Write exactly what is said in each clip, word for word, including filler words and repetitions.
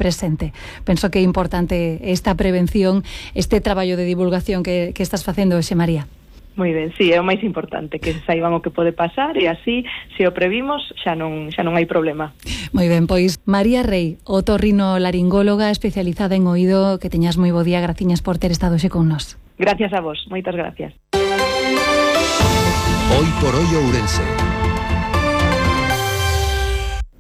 presente. Penso que é importante esta prevención, este traballo de divulgación que, que estás facendo hoxe, María. Moi ben, sí, é o máis importante, que saiban o que pode pasar e así, se o previmos, xa non xa non hai problema. Moi ben, pois María Rei, otorrinolaringóloga especializada en oído, que teñas moi bo día, graciñas por ter estado xe con nós. Gracias a vos, moitas gracias. Hoy por hoy Ourense.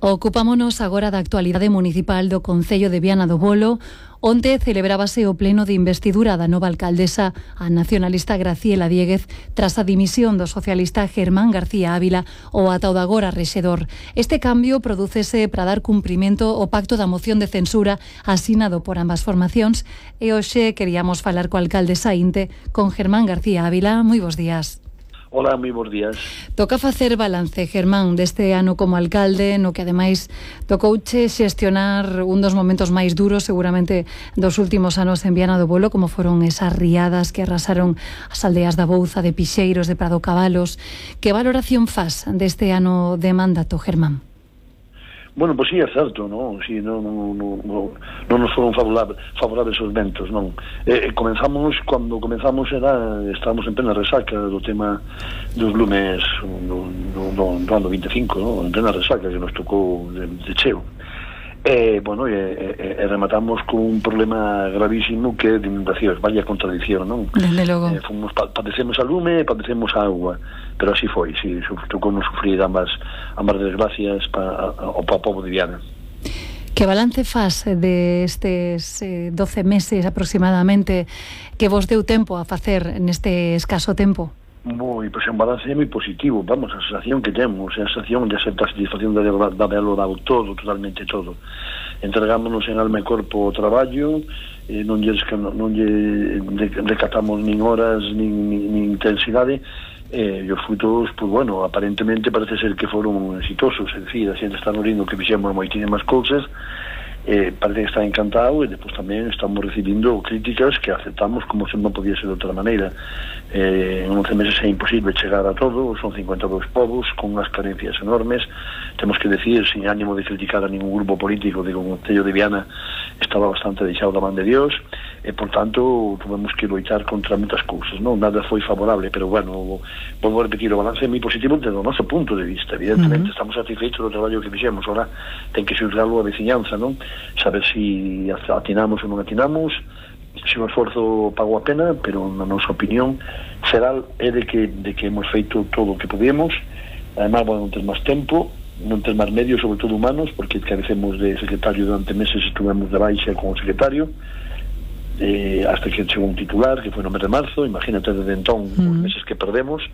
Ocupámonos agora da actualidade municipal do Concello de Viana do Bolo. Onte celebrábase o pleno de investidura da nova alcaldesa, a nacionalista Graciela Diéguez, tras a dimisión do socialista Germán García Ávila, o ata o de agora rexedor. Este cambio prodúcese para dar cumprimento ao pacto da moción de censura asinado por ambas formacións, e hoxe queríamos falar co alcalde saínte, con Germán García Ávila. Moi bons días. Hola, moi bons días. Toca facer balance, Germán, deste ano como alcalde, no que ademais tocouche xestionar un dos momentos máis duros seguramente dos últimos anos en Viana do Bolo, como foron esas riadas que arrasaron as aldeas da Bouza, de Pixeiros, de Prado Cabalos. Que valoración faz deste ano de mandato, Germán? Bueno, pois pues sí, é certo, non? Si, non, non, non, non, non nos foron favorables, favorables os ventos, non? Eh, comenzamos, cando comenzamos era, estábamos en plena resaca do tema dos lumes do, do, do, do ano vinte e cinco, non? En plena resaca que nos tocou de, de cheo. E, bueno, e, e, e rematamos con un problema gravísimo que é de inundacións, vaya contradición, non? Desde logo. Eh, fomos, padecemos a lume e padecemos a agua, pero así foi, si, tocou non sufrir ambas, ambas desgracias para o povo de Viana. Que balance faz destes eh, doce meses aproximadamente que vos deu tempo a facer neste escaso tempo? Moi, pois un balance moi positivo, vamos, a sensación que temos, a sensación de certa satisfacción de haberlo dado todo, totalmente todo. Entregámonos en alma e corpo o traballo, eh, non lle non lle recatamos nin horas, nin, nin, nin intensidade, e eh, os frutos, pues bueno, aparentemente parece ser que foron exitosos, é dicir, a xente está no rindo que fixemos moitísimas cousas, eh, parece que está encantado, e depois tamén estamos recibindo críticas que aceptamos como se non podía ser de outra maneira. Eh, en once meses é imposible chegar a todo, son cincuenta e dous povos con unhas carencias enormes. Temos que decir, sin ánimo de criticar a ningún grupo político, de que o Concello de Viana estaba bastante deixado da man de Dios, e por tanto tuvemos que loitar contra moitas cousas, non? Nada foi favorable, pero bueno, volvo a repetir, o balance é moi positivo desde o noso punto de vista. Evidentemente uh-huh. estamos satisfeitos do traballo que fixemos, ahora ten que xulgalo a veciñanza, non? Saber si atinamos ou non atinamos, se o esforzo pagou a pena, pero na nosa opinión xeral é de que, de que hemos feito todo o que podemos. Además, bueno, non ter máis tempo, non ter máis medios, sobre todo humanos, porque carecemos de secretario durante meses, estuvemos de baixa con o secretario, eh, hasta que chegou un titular que foi no mes de marzo. Imagínate desde entón uh-huh. os meses que perdemos,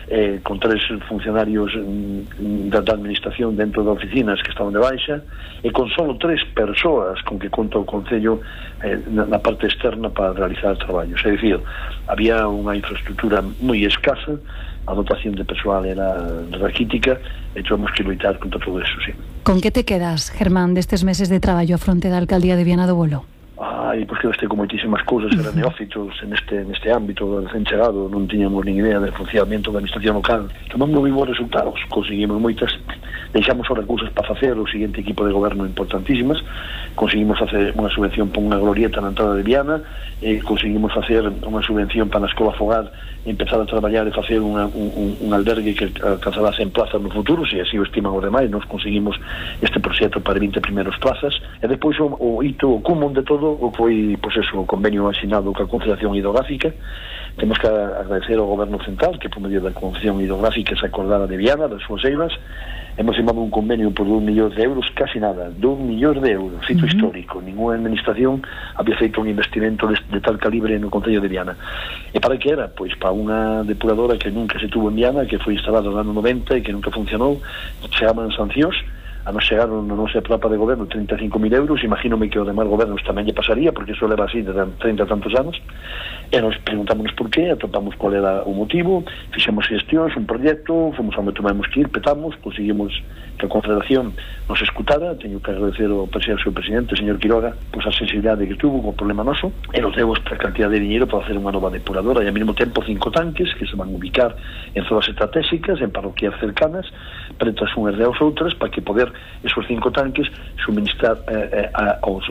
eh, con tres funcionarios mm, da, da administración dentro de oficinas que estaban de baixa, e con solo tres persoas con que conta o Concello eh, na, na parte externa para realizar traballos. É dicir, había unha infraestructura moi escasa, a dotación de persoal era raquítica, e tuvemos que loitar contra todo eso, sí. Con que te quedas, Germán, destes meses de traballo a fronte da Alcaldía de Viana do Bolo? Ai, pois que este con moitísimas cousas, eran neófitos neste, neste ámbito, recén chegado, non tiñamos nin idea del funcionamento da administración local. Tomamos moi bons resultados, conseguimos moitas, deixamos ahora cousas para facer o seguinte equipo de goberno importantísimas, conseguimos facer unha subvención para unha glorieta na entrada de Viana, e conseguimos facer unha subvención para a Escola Fogar, empezar a traballar e facer unha, un, un albergue que alcanzará cen plazas no futuro, se así o estiman os demais. Nos conseguimos este proxecto para vinte primeiros plazas, e depois o, o hito, o cúmulo de todo o foi, pois eso, o convenio asinado ca Confederación Hidrográfica. Temos que agradecer ao Goberno Central que, por medio da Confederación Hidrográfica, se acordara de Viana, das súas eivas. Hemos firmado un convenio por dous millóns de euros, casi nada, dous millóns de euros, feito uh-huh. histórico. Ninguna administración había feito un investimento de, de tal calibre no Concello de Viana. E para que era? Pois para unha depuradora que nunca se tuvo en Viana, que foi instalada no ano noventa e que nunca funcionou. Chegaban sancións, a nos chegaron no nosa etapa de goberno trinta e cinco mil euros. Imagínome que o demais gobernos tamén lle pasaría, porque iso leva así de trinta e tantos anos, e nos preguntámonos por qué, atopamos cuál era o motivo, fixemos xestións, un proxecto, fomos onde tomamos que ir, petamos, conseguimos que a Confederación nos escutara. Teño que agradecer ao presidente, ao presidente, o señor Quiroga, pois a sensibilidade que tuvo co problema noso, e nos deu esta cantidad de dinheiro para hacer unha nova depuradora, e ao mesmo tempo cinco tanques que se van ubicar en zonas estratégicas, en parroquias cercanas, pretas unhas de as outras, para que poder esos cinco tanques suministrar eh, eh, aos,